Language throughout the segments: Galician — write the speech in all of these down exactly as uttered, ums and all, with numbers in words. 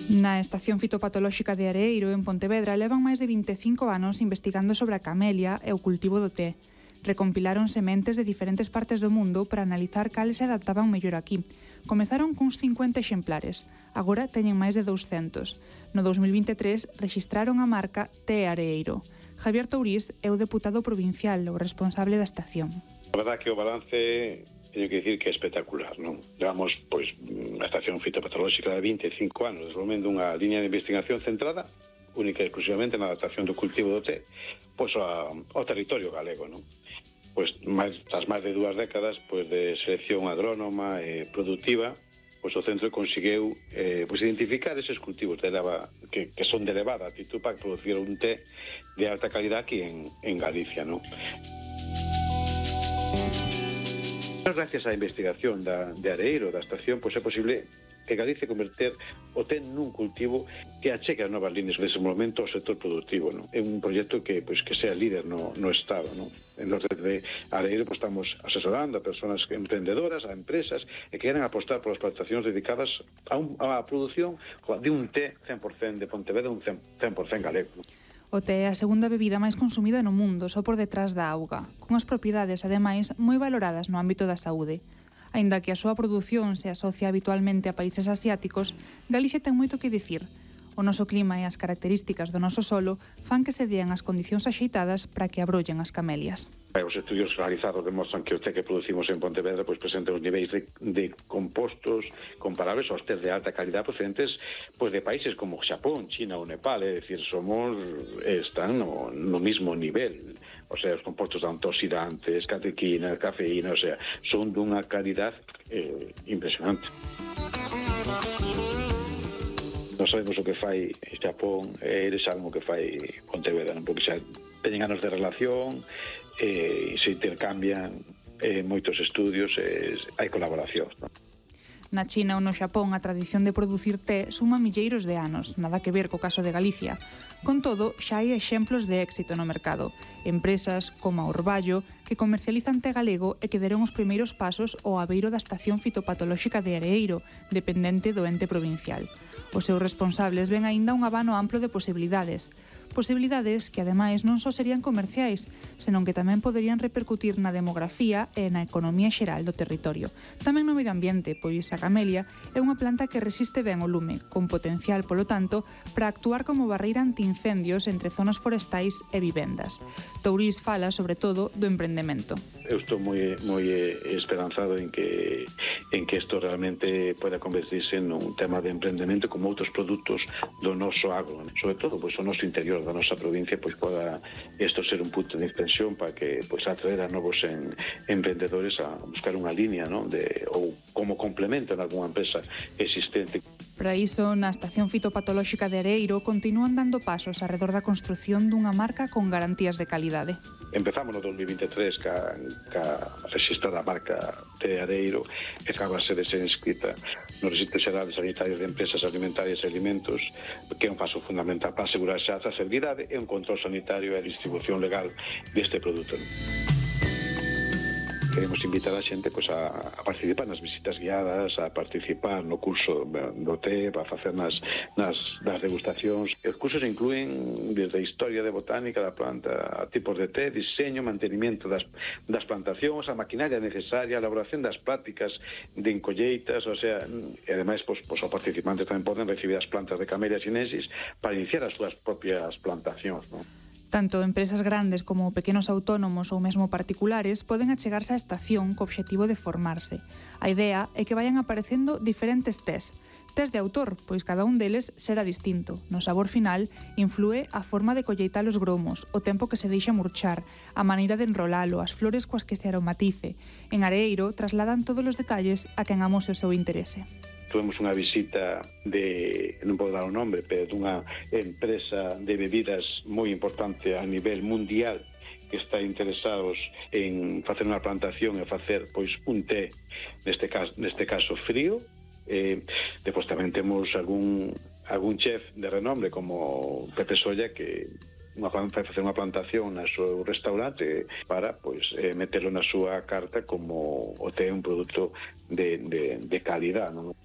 Na Estación Fitopatolóxica de Areeiro, en Pontevedra, levan máis de vinte e cinco anos investigando sobre a camelia e o cultivo do té. Recompilaron sementes de diferentes partes do mundo para analizar cales se adaptaban mellor aquí. Comezaron cuns cincuenta exemplares, agora teñen máis de douscentos. No dous mil vinte e tres rexistraron a marca Té Areeiro. Javier Tourís é o deputado provincial, o responsable da estación. A verdad que o balance teño que dicir que é espectacular, non? Levamos, pois, a Estación Fitopatolóxica de vinte e cinco anos desenvolvendo unha liña de investigación centrada única e exclusivamente na adaptación do cultivo do té pois ao, ao territorio galego, non? Pois máis, tras máis de dúas décadas pois de selección agrónoma e productiva, pois o centro conseguiu eh, pois identificar eses cultivos de eleva, que, que son de elevada actitud para producir un té de alta calidad aquí en, en Galicia, non? Gracias á investigación da, de Areeiro, da estación, pois é posible que Galicia converter o té nun cultivo que achegue as novas líneas de desenvolvemento ao sector productivo, non? É un proxecto que pois que sea líder no, no Estado, non? En los de Areeiro pois, estamos asesorando a persoas emprendedoras, a empresas que queren apostar por as plantacións dedicadas a, un, a produción de un té cen por cen de Pontevedra, un cen por cen galego, non? O té é a segunda bebida máis consumida no mundo, só por detrás da auga, con as propiedades, ademais, moi valoradas no ámbito da saúde. Aínda que a súa produción se asocia habitualmente a países asiáticos, Galicia ten moito que dicir. O noso clima e as características do noso solo fan que se dean as condicións axeitadas para que abrollen as camelias. Os estudios realizados demostran que o té que producimos en Pontevedra pois, presenta os niveis de, de compostos comparables aos tés de alta calidad procedentes pois, de países como Xapón, China ou Nepal, é dicir, somos, están no, no mismo nivel. O sea, os compostos de antioxidantes, catequina, cafeína, o sea, son dunha calidad eh, impresionante. Non sabemos o que fai Xapón, e eles saben o que fai Pontevedra, non? Porque xa teñen anos de relación, e se intercambian eh, moitos estudios, e hai colaboracións, non? Na China ou no Xapón a tradición de producir té suma milleiros de anos, nada que ver co caso de Galicia. Con todo, xa hai exemplos de éxito no mercado. Empresas como a Orballo, que comercializan té galego e que deron os primeiros pasos ao abeiro da Estación Fitopatolóxica de Areeiro, dependente do ente provincial. Os seus responsables ven aínda un abano amplo de posibilidades. Posibilidades que, ademais, non só serían comerciais, senón que tamén poderían repercutir na demografía e na economía xeral do territorio. Tamén no medio ambiente, pois a camelia é unha planta que resiste ben o lume, con potencial, polo tanto, para actuar como barreira antiincendios entre zonas forestais e vivendas. Tourís fala, sobre todo, do emprendemento. Eu estou moi, moi esperanzado en que en que isto realmente poida convertirse nun tema de emprendemento como outros produtos do noso agro, sobre todo pois, o noso interior da nosa provincia, pois poda isto ser un punto de extensión para que pois atraer a novos en, emprendedores a buscar unha línea, ¿no? de, ou como complemento en algunha empresa existente. Para iso, na Estación Fitopatolóxica de Areeiro continúan dando pasos arredor da construción dunha marca con garantías de calidade. Empezamos no dos mil vinte e tres ca, ca registrada marca de Areeiro, que acaba de ser inscrita no Registro Xeral de Sanitarios de Empresas Alimentarias e Alimentos, que é un paso fundamental para asegurar xa a trazabilidade e un control sanitario e a distribución legal deste produto. Queremos invitar a xente pois, a, a participar nas visitas guiadas, a participar no curso do té, para facer nas, nas, nas degustacións. Os cursos incluen desde a historia de botánica da planta, a tipos de té, diseño, mantenimiento das, das plantacións, a maquinaria necesaria, a elaboración das prácticas de encolleitas, o sea, e ademais, pois, pois, os participantes tamén poden recibir as plantas de Camellia sinensis para iniciar as súas propias plantacións, non? Tanto empresas grandes como pequenos autónomos ou mesmo particulares poden achegarse á estación co obxectivo de formarse. A idea é que vayan aparecendo diferentes tés. Tés de autor, pois cada un deles será distinto. No sabor final, inflúe a forma de colleitar os gromos, o tempo que se deixa murchar, a maneira de enrolalo, as flores coas que se aromatice. En Areeiro trasladan todos os detalles a quen amose o seu interese. Tuvemos unha visita de, non podo dar o nome, pero dunha empresa de bebidas moi importante a nivel mundial que está interesados en facer unha plantación e facer pois un té, neste caso, neste caso frío. Eh, depois tamén temos algún, algún chef de renombre como Pepe Solla que vai facer unha plantación na seu restaurante para pois, eh, meterlo na súa carta como o té un produto de, de, de calidad, non?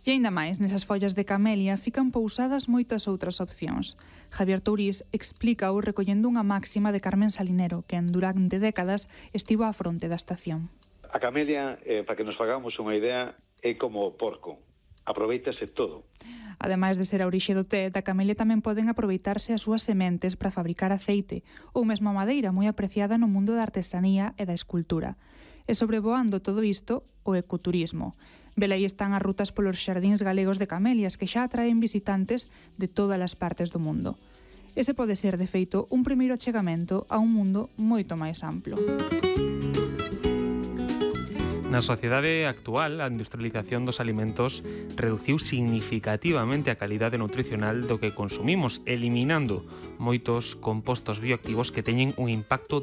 E aínda máis, nesas follas de camelia fican pousadas moitas outras opcións. Javier Tourís explícao recollendo unha máxima de Carmen Salinero, que en durante décadas estivo á fronte da estación. A camelia, eh, para que nos fagamos unha idea, é como o porco. Aproveítase todo. Ademais de ser a orixe do té, da camelia tamén poden aproveitarse as súas sementes para fabricar aceite ou mesmo a madeira moi apreciada no mundo da artesanía e da escultura. E sobrevoando todo isto, o ecoturismo. Velaí están as rutas polos xardíns galegos de camelias que xa atraen visitantes de todas as partes do mundo. Ese pode ser, de feito, un primeiro achegamento a un mundo moito máis amplo. Na sociedade actual, a industrialización dos alimentos reduciu significativamente a calidade nutricional do que consumimos, eliminando moitos compostos bioactivos que teñen un impacto